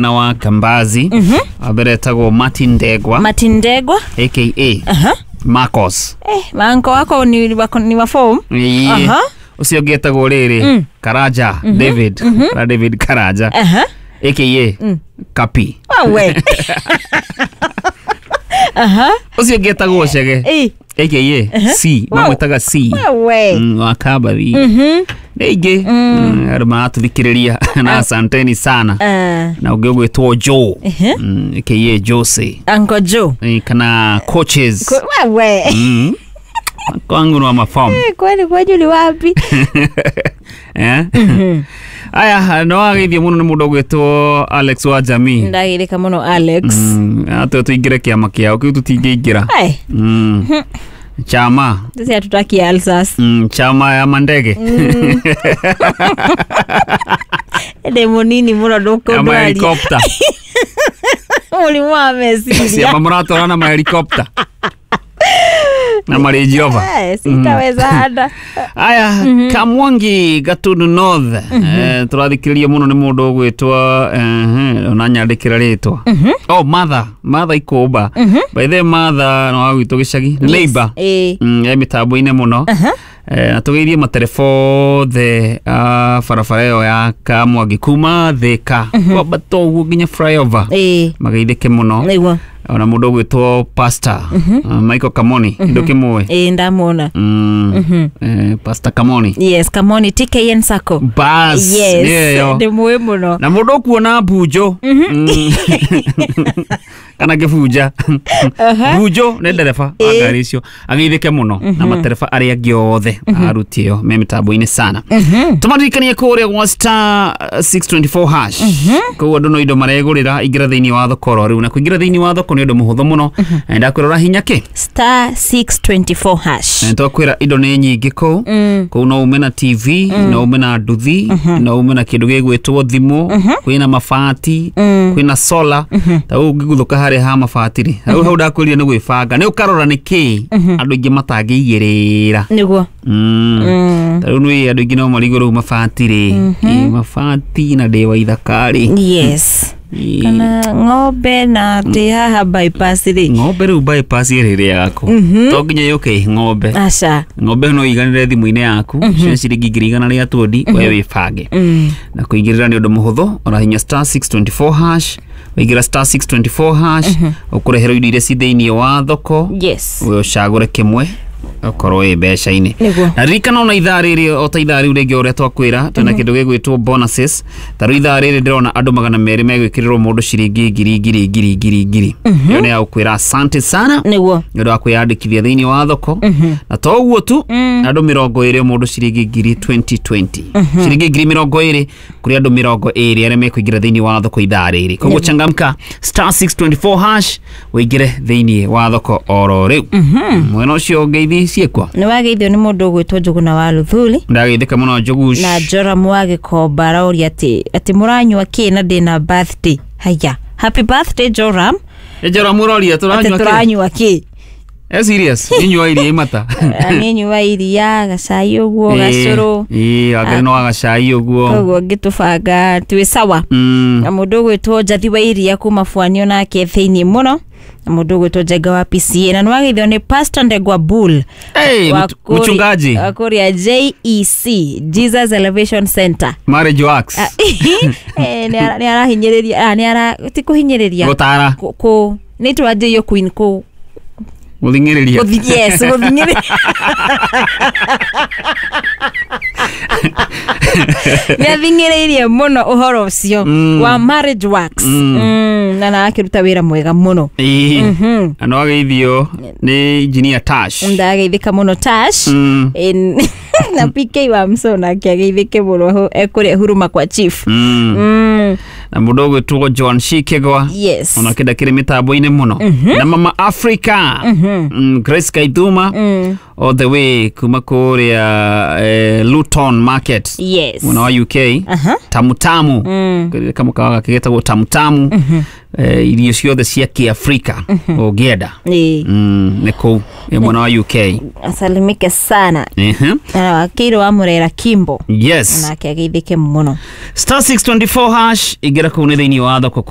Na wa Kambazi wa mbere etagwo Martin Ndegwa. Martin Ndegwa. Aka Marcos. Eh, manko wako ni wa form. Ĩĩ. Ũcio ũngĩ etagwo rĩrĩ Karanja David. Kara David Karanja aka Kapi. Wewe. Ũcio ũngĩ etagwo Chege aka C. Mamwĩtaga C. Wewe. Wa Kambathi nĩ ingĩ andũ maratũthikĩrĩria na asanteni sana. Na ũngĩ ũgwĩtwo Joe, aka Jose. Uncle Joe. Kana coaches. Wewe. Kwangu ni wa mafamu. Kwani kwenyu ni wapi? Eh? Aya, no wageithio mũno nĩ mũndũ ũgwĩtwo Alex wa Jamii. Ndagirika muno Alex. Atwe tũingĩre kĩama kĩao kĩu tũtingĩingĩra. Ai, Chama sisi hatutaki ulcers. Chama ya mandege. Ndĩ mũnini mũno Ya ndũkũndwaria. mahelikopta. Mũrimũ wa meciria. Ciama mũratwara na mahelikopta na Range Rover. Eh, sitawezana. Aya, Kamwangi Gatundu North, tũrathikĩrĩria mũno nĩ mũndũ ũgwĩtwo ona nyandĩkĩra rĩtwa, oh, Martha, Martha Ikũmba. By the way, Martha nĩ wa gwitũ gĩcagi, nĩ neighbor. E mĩtambo-inĩ mũno. Na tũgeithie matereba othe a barabara ĩyo ya Kamwangi kuma Thĩka kwambata ũguo nginya flyover, mageithĩke mũno. Nĩguo. Ona mũndũ ũgwĩtwo Pastor Michael Kamoni, ndũkĩmũĩ? Ĩĩ, ndamuona. Pastor Kamoni. Yes, Kamoni TKN Sacco. Bas. Yes, nĩyo. ndĩmũĩ mũno. Na mũndũ ũkuona mbunjo kana ngĩbunja bunjo nĩ ndereba wa ngari icio ageithĩke mũno na matereba arĩa angĩ othe aruti ĩyo me mĩtambo-inĩ sana. Tũmaririkanie kũrĩa gwa star 624 hash kũu andũ no indo maregũrĩra. Ingĩra thĩinĩ wa thoko oro rĩu, na kũingĩra thĩinĩ wa thoko nĩ ũndũ mũhũthũ mũno. Ndakwĩrora hinya kĩ? Star 624 hash. Na twakwĩra indo nĩ nyingĩ kũu. Kũu no ume na TV, no ume na nduthi, no ume na kĩndũ gĩgwĩtwo thimũ, kwĩna mabati, kwĩna solar. Ta rĩu ũngĩguthũka harĩa ha mabati rĩ, hau hau ndakwĩrire nĩ gwĩbanga, nĩ ũkarora nĩ kĩ andũ aingĩ matangĩigĩrĩra. Nĩguo. Ta rĩu nĩ andũ aingĩ no marigwo rĩu mabati rĩ, ĩ, mabati na ndĩ wa ithaka rĩ. Ĩ, Kana ng'ombe na ndĩ haha bypass rĩ. Ng'ombe rĩu bypass ĩrĩrĩaga kũ? To nginya yũke ĩ ng'ombe. Aca. Ng'ombe no iganĩre thimũ-inĩ yaku cia ciringi 120,000, we wĩbange. Na kũingĩrĩra nĩ ũndũ mũhũthũ, ũrahinya star 624 hash. Waingĩra star 624 hash, ũkũreherwo indo iria ci thĩinĩ wa thoko. We ũcagũre kĩmwe ũkorwo wĩ mbeca-inĩ. Na ririkana ona ithaa rĩrĩ, o ta ithaa rĩu rĩngĩ ũrĩa twakwĩra, twĩna kĩndũ gĩgwĩtwo bonuses. Ta rĩu ithaa rĩrĩ ndĩrona andũ 200 megwĩkĩrĩrwo mũndũ ciringi ngiri ngiri ngiri ngiri ngiri. Ĩyo nĩ ya gũkwĩra asante sana nĩ ũndũ wa kwĩyandĩkithia thĩinĩ wa thoko. Na to ũguo tu, andũ 20 mũndũ ciringi ngiri 2020, ciringi 20,000 kũrĩ andũ 20 arĩa mekũingĩra thĩinĩ wa thoko ithaa rĩrĩ. Koguo changamka, star 624 hash, ũingĩre thĩinĩ wa thoko oro rĩu. Mwena ũcio ngeithi ciĩkwo. Nĩ wageithio nĩ mũndũ ũgwĩtwo Njũgũna wa Luthuli. Ndageithĩka mũno Njũgush. Na Joram wa Gĩkomba aroria atĩ mũranyua kĩ na ndĩna birthday. Haya, happy birthday, Joram. Njora mũroria Atĩ tũranyua kĩ? Tũranyua kĩ? Eh, serious inyua iria imata. Niĩ nyua iria, gacai ũguo, gacũrũ. Ĩĩ, angĩ no gacai ũguo. Koguo ngĩtũbanga twĩ sawa. Na mũndũ ũgwĩtwo Njathi wa iria kuma Bwani onake thĩinĩ mũno, na mũndũ ũgwĩtwo Njenga wa PCA, na nĩwageithio nĩ Pastor Ndegwa Bull. Hey, wa mchungaji. Wa kũrĩa JEC, Jesus Elevation Center. Marriage works. Ah, eh, nĩ arahinyĩrĩria, ah, nĩ ara ti kũhinyĩrĩria. Gũtara. Nĩ twanjĩirio queen kũ Gũthing'ĩrĩria. Yes, gũthing'ĩrĩria. Nĩ athing'ĩrĩirie mũno ũhoro ũcio wa marriage works. Na akĩruta wĩra mwega mũno. Ĩĩ. Na no ageithio nĩ engineer Tash. Ndageithĩka mũno Tash. Na PK wa Msona akĩageithĩke mũno ekũrĩa Huruma kwa chief. Na mũndũ ũgwĩtwo John Shikegwa ona kĩnda kĩrĩ mĩtambo-inĩ mũno, na Mama Africa, Grace Kaithuma, all the way kuma kũrĩa Luton Market mwena wa UK. Tamutamu, kamũkawa gake getagwo Tamutamu. Irio ciothe cia Kiafrika ũngĩenda. Ĩĩ. Nĩ kũu ĩ mwena wa UK. Asalimike sana. Ehe. Na wakiri wa Murera Kimbo. Yes. Nake ageithĩke mũno. Star 624 hash, ingĩra kũu nĩ thĩinĩ wa thoko.